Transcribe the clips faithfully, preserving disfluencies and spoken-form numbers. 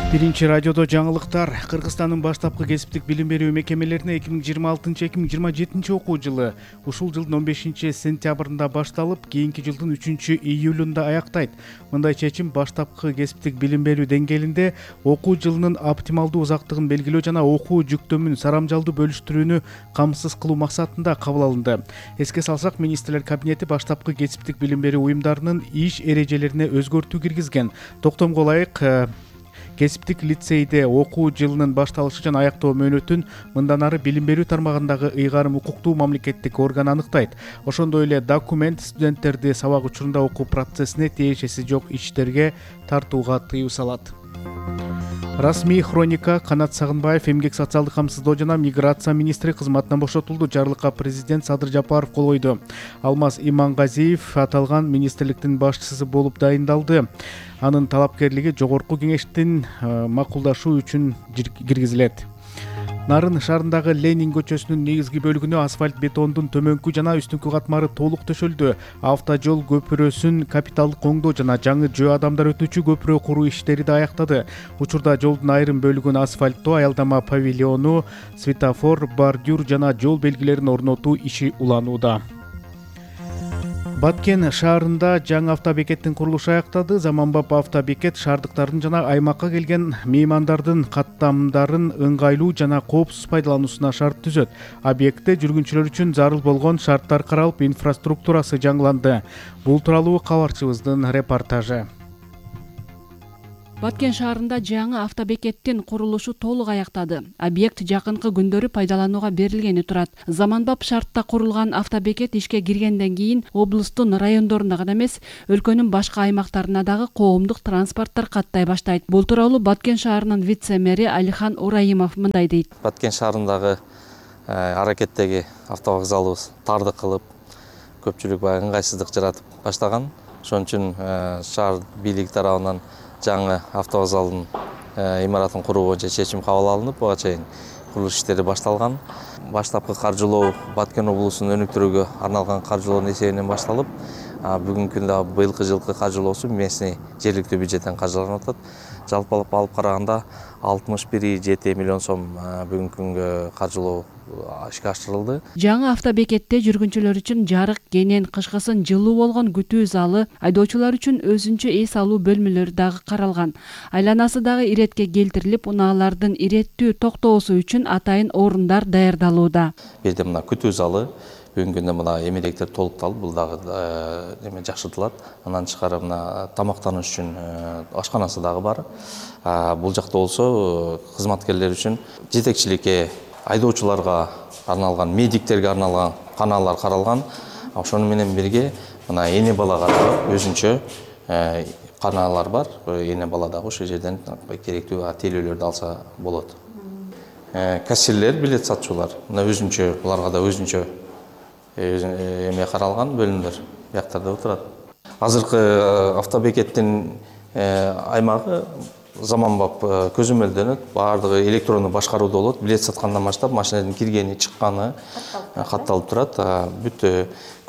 Биринчи радиодо жаңылыктар. Кыргызстандын баштапкы кесиптик билим берүү мекемелерине эки миң жыйырма алтынчы эки миң жыйырма жетинчи окуу жылы ушул жылдын он бешинчи сентябрында башталып, кийинки жылдын үчүнчү июлунда аяктайт. Мындай чечим баштапкы кесиптик билим берүү деңгээлинде окуу жылынын оптималдуу узактыгын белгилөө жана окуу жүктөмүн сарамжалдуу бөлүштүрүүнү камсыз кылуу максатында кабыл алынды. Эске салсак, министрлер кабинети баштапкы кесиптик билим берүү уюмдарынын иш эрежелерине өзгөртүү киргизген. Токтомго ылайык кесиптик лицейде окуу жылынын башталышы жана аяктоо мөөнөтүн мындан ары билим берүү тармагындагы ыйгарым укуктуу мамлекеттик орган аныктайт. Ошондой эле документ студенттерди сабак учурунда окуу процессине тиешеси жок иштерге тартууга тыюу салат. Расмий хроника. Канат Сагынбаев эмгек социалдык камсыздоо жана миграция министри кызматынан бошотулду. Жарлыкка президент Садыр Жапаров кол койду. Алмаз Имангазиев аталган министрликтин башчысы болуп дайындалды. Анын талапкерлиги жогорку кеңештин макулдашуу үчүн киргизилет. Нарын шаарындагы Ленин көчөсүнүн негизги бөлүгүнө асфальт бетондун төмөнкү жана үстүнкү катмары толук төшөлдү. Автожол көпүрөсүн капиталдык оңдоо жана жаңы жөө адамдар өтүүчү көпүрө куруу иштери да аяктады. Учурда жолдун айрым бөлүгүн асфальттоо, аялдама павильону, светофор, бордюр жана жол белгилерин орнотуу иши уланууда. Баткен шаарында жаңы автобекеттин курулушу аяктады. Заманбап автобекет шаардыктардын жана аймакка келген меймандардын каттамдарын ыңгайлуу жана коопсуз пайдалануусуна шарт түзөт. Объектте жүргүнчүлөр үчүн зарыл болгон шарттар каралып, инфраструктурасы жаңыланды. Бул тууралуу кабарчыбыздын репортажы. Баткен шаарында жаңы автобекеттин курулушу толук аяктады. Объект жакынкы күндөрү пайдаланууга берилгени турат. Заманбап шартта курулган автобекет ишке киргенден кийин облустун райондоруна гана эмес, өлкөнүн башка аймактарына дагы коомдук транспорттор каттай баштайт. Бул тууралуу Баткен шаарынын вице-мэри Алихан Ураимов мындай дейт. Баткен шаарындагы аракеттеги автовокзалыбыз тарды кылып, көпчүлүк баягы ыңгайсыздык жаратып баштаган. Ошон үчүн шаар бийлиги тарабынан жаңы автовокзалдын имаратын куруу боюнча чечим кабыл алынып, буга чейин курулуш иштери башталган. Баштапкы каржылоо Баткен облусун өнүктүрүүгө арналган каржылоонун эсебинен башталып, бүгүнкү күндө быйылкы жылкы каржылоосу местный жергиликтүү бюджеттен каржыланып атат. Жалпылап алып караганда алтымыш бир и жети миллион сом бүгүнкү күнгө каржылоо ишке ашырылды. Жаңы автобекетте жүргүнчүлөр үчүн жарык, кенен, кышкысын жылуу болгон күтүү залы, айдоочулар үчүн өзүнчө эс алуу бөлмөлөрү дагы каралган. Айланасы дагы иретке келтирилип, унаалардын иреттүү токтоосу үчүн атайын орундар даярдалууда. Бирде мына күтүү залы, бүгүнкү күндө мына эмелектер толукталып, бул дагы эме жакшыртылат. Андан тышкары мына тамактануш үчүн ашканасы дагы бар. Бул жакта болсо кызматкерлер үчүн жетекчиликке, айдоочуларга арналган, медиктерге арналган каналlar каралган. Ошону менен бирге мына эне балага өзүнчө каналlar бар. Эне бала дагы ошол жерден керектүү тейлөөлөрдү алса болот. Кассирлер, билет сатчулар, мына өзүнчө, буларга да өзүнчө эме каралган бөлүмдөр бияктарда отурат. Азыркы автобекеттин аймагы заманбап көзөмөлдөнөт, баардыгы электрондук башкарууда болот. Билет саткандан баштап машинанын киргени, чыкканы катталып турат. Бүт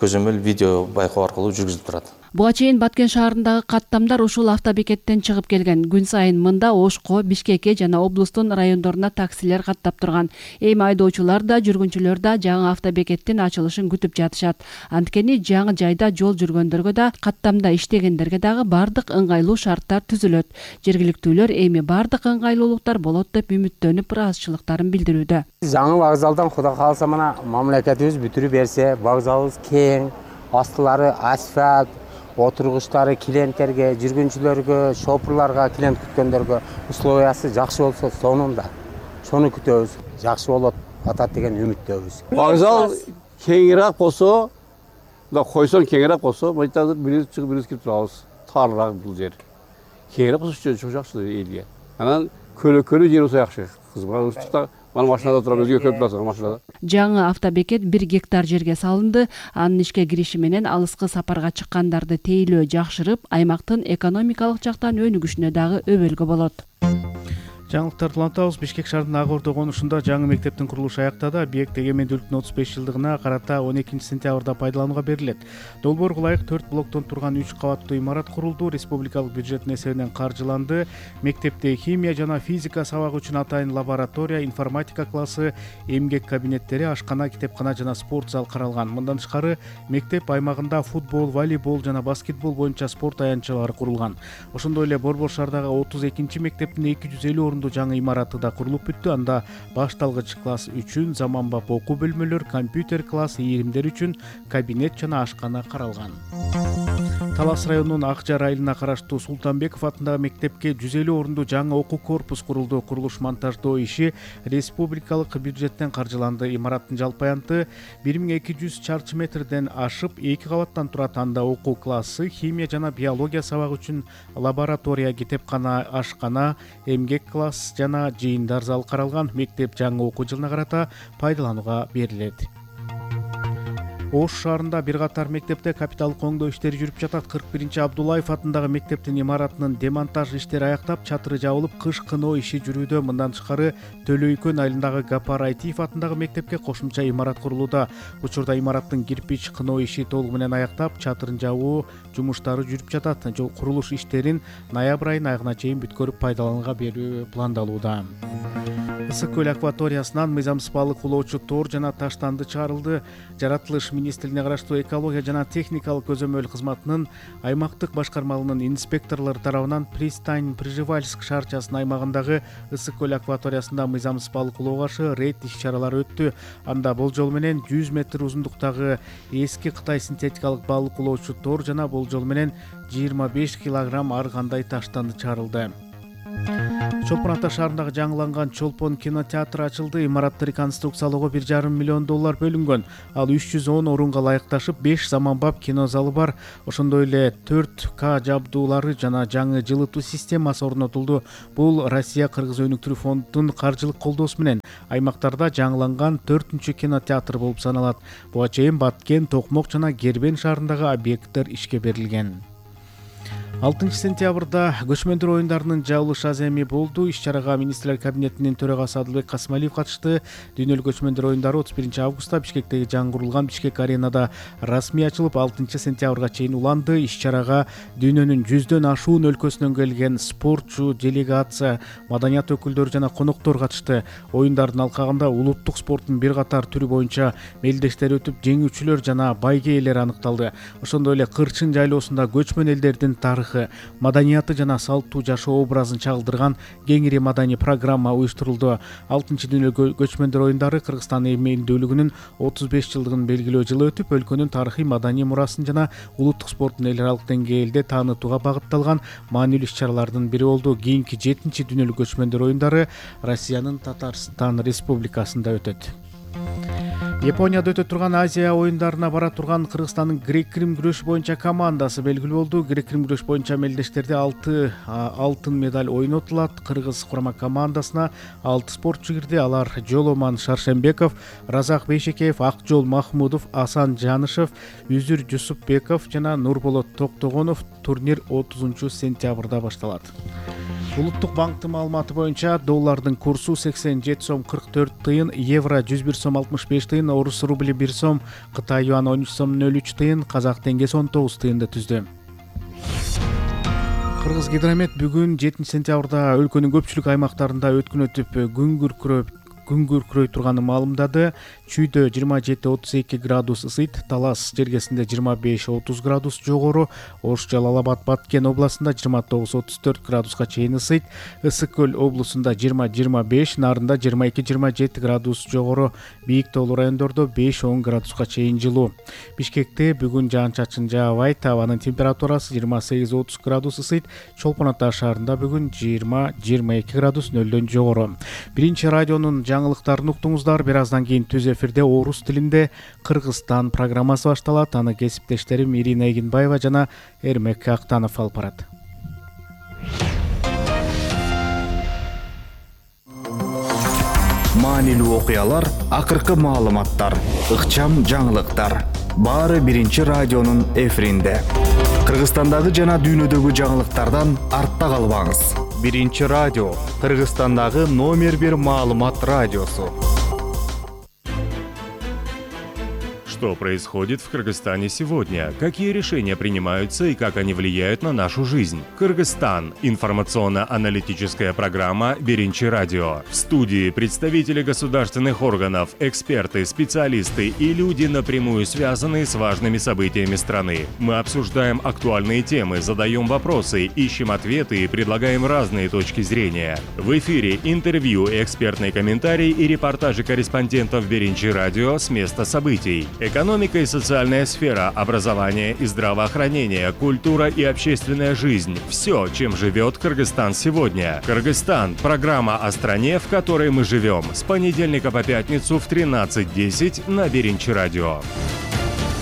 көзөмөл видео байкоо аркылуу жүргүзүлүп турат. Буга чейин Баткен шаарындагы каттамдар ушул автобекеттен чыгып келген. Күн сайын мында Ошко, Бишкекке жана облустун райондоруна таксилер каттап турган. Эми айдоочулар да, жүргүнчүлөр да жаңы автобекеттин ачылышын күтүп жатышат. Анткени жаңы жайда жол жүргөндөргө да, каттамда иштегендерге дагы бардык ыңгайлуу шарттар түзүлөт. Жергиликтүүлөр эми бардык ыңгайлуулуктар болот деп үмүттөнүп, ыраазычылыктарын билдирүүдө. Жаңы вокзалдан Кудай кааласа мына мамлекетибиз бүтүрүп берсе, вокзалыбыз кең, астылары асфальт, отургучтары клиенттерге, жүргүнчүлөргө, шопурларга, клиент күткөндөргө условиясы жакшы болсо, сонун да. Шону күтөбүз. Жакшы болот атат деген үмүттөбүз. Вокзал кеңирээк болсо, да койсон кеңирээк болсо, мынтазыр бирибиз чыгып бирибиз кирип турабыз. Тарыраак бул жер. Кеңирээк болсо чоң жакшы элге. Анан көлөккөлүү жер болсо жакшы. Кызматчылар Мана машинада турам, өзгө көрүп турасың машинада. Жаңы автобекет бир гектар жерге салынды. Анын ишке кириши менен алыскы сапарга чыккандарды тейлөө жакшырып, аймактын экономикалык жактан өнүгүшүнө дагы өбөлгө болот. Жаңылыктарды улантабыз. Бишкек шаарынын Ак Ордо конушунда жаңы мектептин курулушу аяктады. Объект эгемендүүлүктүн отуз беш жылдыгына карата он экинчи сентябрда пайдаланууга берилет. Долбоорго ылайык төрт блоктон турган үч кабаттуу имарат курулду. Республикалык бюджеттин эсебинен каржыланды. Мектепте химия жана физика сабагы үчүн атайын лаборатория, информатика классы, эмгек кабинеттери, ашкана, китепкана жана спорт зал каралган. Мындан тышкары мектеп аймагында футбол, волейбол жана баскетбол боюнча спорт аянтчалары курулган. Ошондой эле Борбор шаардагы отуз экинчи мектептин эки жүз элүү жаңы имараты да курулуп бүттү. Анда башталгыч класс үчүн заманбап окуу бөлмөлөр, компьютер класс, ийримдер үчүн кабинет жана ашкана каралган. Талас районунун Ак Жар айылына караштуу Султанбеков атындагы мектепке жүз элүү орундуу жаңы окуу корпус курулду. Курулуш монтаждоо иши республикалык бюджеттен каржыланды. Имараттын жалпы аянты бир миң эки жүз чарчы метрден ашып эки кабаттан турат. Анда окуу классы, химия жана биология сабагы үчүн лаборатория, китепкана, ашкана, эмгек класс жана жыйындар зал каралган. Мектеп жаңы окуу жылына карата пайдаланууга берилет. Ош шаарында бир катар мектепте капиталдык оңдоо иштери жүрүп жатат. кырк биринчи Абдуллаев атындагы мектептин имаратынын демонтаж иштери аяктап, чатыры жабылып, кыш кыноо иши жүрүүдө. Мындан тышкары Төлөйкөн айылындагы Гапар Айтиев атындагы мектепке кошумча имарат курулууда. Учурда имараттын кирпич кыноо иши толугу менен аяктап, чатырын жабуу жумуштары жүрүп жатат. Жол курулуш иштерин ноябрь айынын аягына чейин бүткөрүп пайдаланууга берүү пландалууда. Ысык көл акваториясынан мыйзамсыз балык улоочу тор жана таштанды чыгарылды. Жаратылыш министрлигине караштуу экология жана техникалык көзөмөл кызматынын аймактык башкармалынын инспекторлору тарабынан Пристань Прижевальск шаарчасынын аймагындагы Ысык көл акваториясында мыйзамсыз балык улоо каршы рейд иш-чаралары өттү. Анда болжол менен жүз метр узундуктагы эски Кытай синтетикалык балык улоочу тор жана болжол менен жыйырма беш килограмм ар кандай таштанды чыгарылды. Чолпон Ата шаарындагы жаңыланган Чолпон кинотеатры ачылды. Имаратты реконструкциялоого бир жарым миллион доллар бөлүнгөн. Ал үч жүз он орунга ылайыкташып, беш заманбап кино залы бар. Ошондой эле төрт К жабдуулары жана жаңы жылытуу системасы орнотулду. Бул Россия Кыргыз өнүктүрүү фондунун каржылык колдоосу менен аймактарда жаңыланган төртүнчү кинотеатр болуп саналат. Буга чейин Баткен, Токмок жана Кербен шаарындагы объекттер ишке берилген. алтынчы сентябрда көчмөндөр оюндарынын жабылыш аземи болду. Иш-чарага министрлер кабинетинин төрагасы Адылбек Касымалиев катышты. Дүйнөлүк көчмөндөр оюндары отуз биринчи августта Бишкектеги жаңы курулган Бишкек аренада расмий ачылып, алтынчы сентябрга чейин уланды. Иш-чарага дүйнөнүн жүздөн ашуун өлкөсүнөн келген спортчу, делегация, маданият өкүлдөрү жана коноктор катышты. Оюндардын алкагында улуттук спорттун бир катар түрү боюнча мелдештер өтүп, жеңүүчүлөр жана байге ээлери аныкталды. Ошондой эле Кырчын жайлоосунда көчмөн элдердин тарыхы, маданияты жана салттуу жашоо образын чагылдырган кеңири маданий программа уюштурулду. алтынчы дүйнөлүк көчмөндөр оюндары Кыргызстан эмелдүүлүгүнүн отуз беш жылдыгын белгилөө жылы өтүп, өлкөнүн тарыхый маданий мурасын жана улуттук спорттун эл аралык деңгээлде таанытууга багытталган маанилүү иш-чаралардын бири болду. Кийинки жетинчи дүйнөлүк көчмөндөр оюндары Россиянын Татарстан Республикасында өтөт. Японияда өтө турган Азия оюндарына бара турган Кыргызстандын грек-рим күрөшү боюнча командасы белгилүү болду. Грек-рим күрөш боюнча мелдештерде алты алтын медаль ойнотулат. Кыргыз курама командасына алты спортчу кирди. Алар Жоломан Шаршембеков, Разак Бейшекеев, Акжол Махмудов, Асан Жанышев, Үзүр Жусупбеков жана Нурболот Токтогонов. Турнир отузунчу сентябрда башталат. Улуттук банктын маалыматы боюнча доллардын курсу сексен жети сом кырк төрт тыйын, евро жүз бир сом алтымыш беш тыйын, орус рубли бир сом, Кытай юаны он үч сом нөл үч тыйын, казак теңгеси он тогуз тыйынды түздү. Кыргыз гидромет бүгүн жетинчи сентябрда өлкөнүн көпчүлүк аймактарында өткөн өтүп күн күркүрөп күн күркүрөй турганын маалымдады. Чүйдө жыйырма жети отуз эки градус ысыйт, Талас жергесинде жыйырма беш отуз градус жогору, Ош Жалал Абад Баткен областында жыйырма тогуз отуз төрт градуска чейин ысыйт, Ысык көл облусунда жыйырма жыйырма беш, Нарында жыйырма эки жыйырма жети градус жогору, бийик тоолуу райондордо беш он градуска чейин жылуу. Бишкекте бүгүн жаан-чачын жаабайт, абанын температурасы жыйырма сегиз отуз градус ысыйт, Чолпон Ата шаарында бүгүн жыйырма жыйырма эки градус нөлдөн жогору. Биринчи радионун жаңылыктарын уктуңуздар. Бир аздан кийин түз эфирде орус тилинде Кыргызстан программасы башталат. Аны кесиптештерим Ирина Эгинбаева жана Эрмек Актанов алып барат. Маанилүү окуялар, акыркы маалыматтар, ыкчам жаңылыктар. Баары биринчи радионун эфиринде. Кыргызстандагы жана дүйнөдөгү жаңылыктардан артта калбаңыз. биринчи радио, Кыргызстандагы номер бир маалымат радиосу. Что происходит в Кыргызстане сегодня? Какие решения принимаются и как они влияют на нашу жизнь? Кыргызстан. Информационно-аналитическая программа «Биринчи радио». В студии представители государственных органов, эксперты, специалисты и люди, напрямую связанные с важными событиями страны. Мы обсуждаем актуальные темы, задаем вопросы, ищем ответы и предлагаем разные точки зрения. В эфире интервью, экспертные комментарии и репортажи корреспондентов «Биринчи радио» с места событий. Экономика и социальная сфера, образование и здравоохранение, культура и общественная жизнь – все, чем живет Кыргызстан сегодня. Кыргызстан – программа о стране, в которой мы живем. С понедельника по пятницу в тринадцать десять на Биринчи радио.